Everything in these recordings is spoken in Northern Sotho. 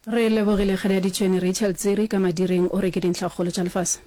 Re lebogile Kgadiaditšhwene Rachel Tsiri ka madireng o re ke dintlhakgolo tša lefase.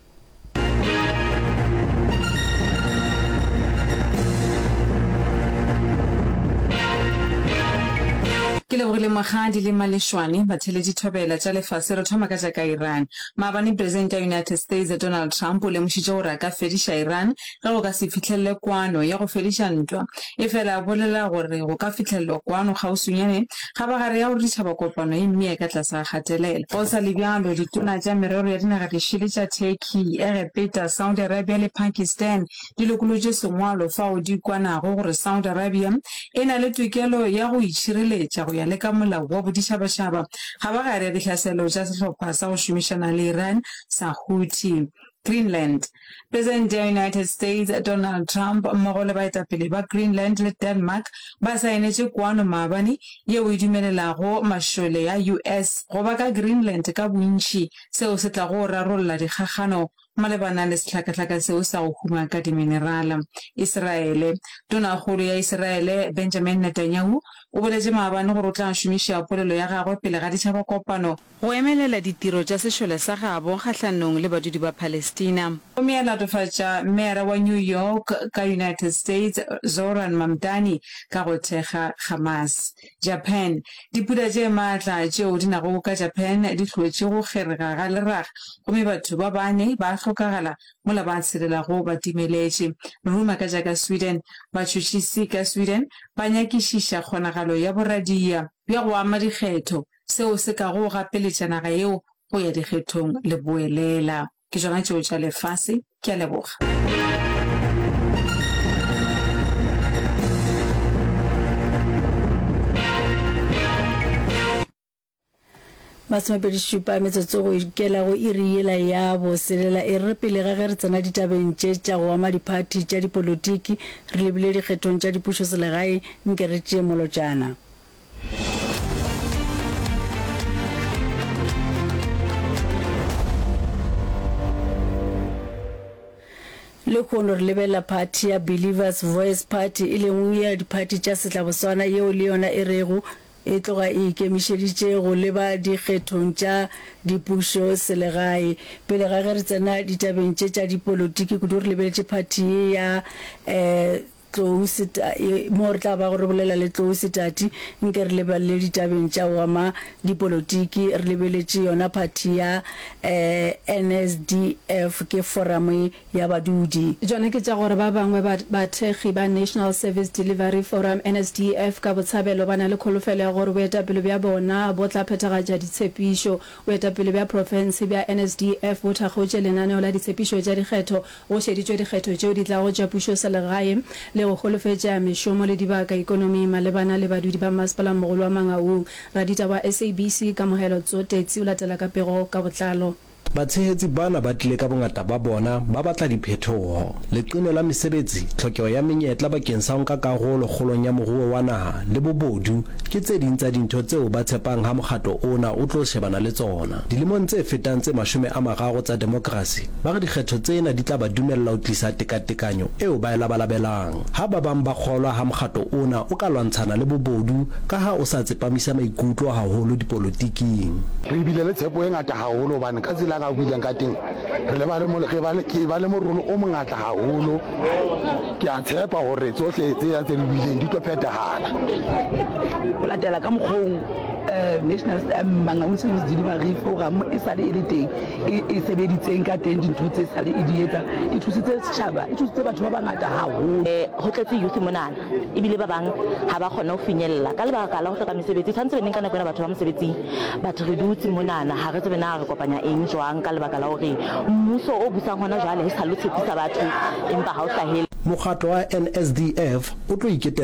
Ke lebogile Mokgadi le Malešwane, batheeletši thobela tša lefase. Re thoma ka tša ka Iran. Maabane Presidente ya United States Donald Trump o lemošitše gore a ka fediša Iran ge go ka se fihlelele kwano ya go fediša ntwa. Efela a bolela gore go ka fihlelelwa kwano kgauswinyane kgabagare ya gore ditšhabakopano e mmee ka tlase ga kgatelelo. Go sa le bjalo, ditona tša merero ya dinaga dišele tša Turkey, Egepeta, Saudi Arabia le Pakistan di lokolotše sengwalo fao di kwanago gore Saudi Arabia e na le tokelo ya go itšhireletša go ya le ka molao wa boditšhabatšhaba kgabagare ya dihlaselo tša sehlopha sa go šomišana le Iran sa Houthi. Greenland. Presidente ya United States Donald Trump mmogo le baetapele ba Greenland le Denmark ba saenetše kwano maabane yeo e dumelelago mašole a US go ba ka Greenland ka bontši, seo se tlago rarolla dikgakgano malebana le sehlakahlaka seo sa go huma ka diminerala. Israele. Tonakgolo ya Israele Benjamin Netanyahu o boletše maabane gore o tla šomiša polelo ya gagwe pele ga ditšhabakopano go emelela ditiro tša sešole sa gabo kgahlanong le badudi ba Palestina. Gomme a latofatša meyara wa New York ka United States Zohran Mamdani ka go thekga Hamas. Japan, Dipula tše matla tšeo di nago ka Japan di hlotše go kgerega ga leraga gomme batho ba bane ba hlokagala mola ba tshelelago ba timeletše. Ruma ka tša ka Sweden, Batšhotšhisi ka Sweden ba nyakišiša kgonagalo ya boradia bja go ama dikgetho, seo se kago gapeletša naga yeo go ya dikgethong leboelela. Ke tšona tšeo tša lefase. Ke a leboga. Masomepedišupa metsotso go ikela go iri yela ya boselela. E re pele ga ge re tsena ditabeng tše tša go ama diphathi tša dipolotiki, re lebile dikgethong tša dipušoselegae, nke re tšee molotšana. Lehono re lebelela phathi ya Believers Voice Party, e leng ya diphathi tša setlaboswana yeo le yona e rego e tloga e ikemišeditše go leba dikgethong tša dipušo selegae. Pele ga ge re tsena ditabeng tše tša dipolotiki kudu re lebeletše phathi ye ya Tlou Seta, mo re tla bago re bolela le Tlou Setati, nke re lebelele ditabeng tša go ama dipolotiki, re lebeletše yona phathi ya NSDF, ke foramo ya badudi. Tšona ke tša gore ba bangwe ba bathekgi ba National Service Delivery Forum, NSDF, ka Botshabelo ba na le kholofelo ya gore boetapele bja bona bo tla phethagatša ditshepišo. Boetapele bja profense bja NSDF bo thakgotše lenaneo la ditshepišo tša dikgetho Go šeditšwe dikgetho tšeo di tlago tša pušoselegae le go holofetša mešomo le dibaka ikonoming malebana le badudi ba Mmasepala-mogolo wa Mangaung. Raditaba wa SABC, Kamohelo Tsotetsi o latela ka pego ka botlalo. Batshehetsi bana ba tlile ka bongata ba bona ba batla diphetoho. Leqine la mesebetsi, tlhokeho ya menyetla bakeng sa ho nka karolo kgolong ya moruo wa naha le bobodu ke tse ding tsa dintho tseo ba tshepang ha mokgatlo ona o tlo shebana le tsona. Dilemong tse fetang tse 30 tsa demokrasi, Ba re dikgetho tsena di tla ba dumella ho tlisa tekatekanyo eo ba e labalabelang. Ha ba bang ba kgolwa ha mokgatlo ona o ka lwantshana le bobodu ka ha o sa tsepamisa maikutlo haholo dipolotiking. Re bile le tshepo e ngata haholo hobane ka tsela a buileng ka teng re le ba le re ba le ke ba le morolo o mongata haholo. Ke a tshepa hore tsohle tse tse di buileng di tlo phethahala. Ho latela ka mokgwa oo National Mangaung Service Delivery Forum e sale e le teng, e, e sebeditseng ka teng dintho tse sale e di etsa e thusitse setjhaba e thusitse batho ba bangata haholo. Ho tletse youth monana ebile ba bang ha ba kgone ho finyella ka lebaka la ho hloka mesebetsi. Tshwanetse be neng ka nako ena batho ba mosebetsing but re dutse monana ha re tsebe na re kopanya eng jwang ka lebaka la hore mmuso o busang hona jwale e sale o tshepisa batho empa ha o hlahele. Mokgatlo wa NSDF o tlo iketela.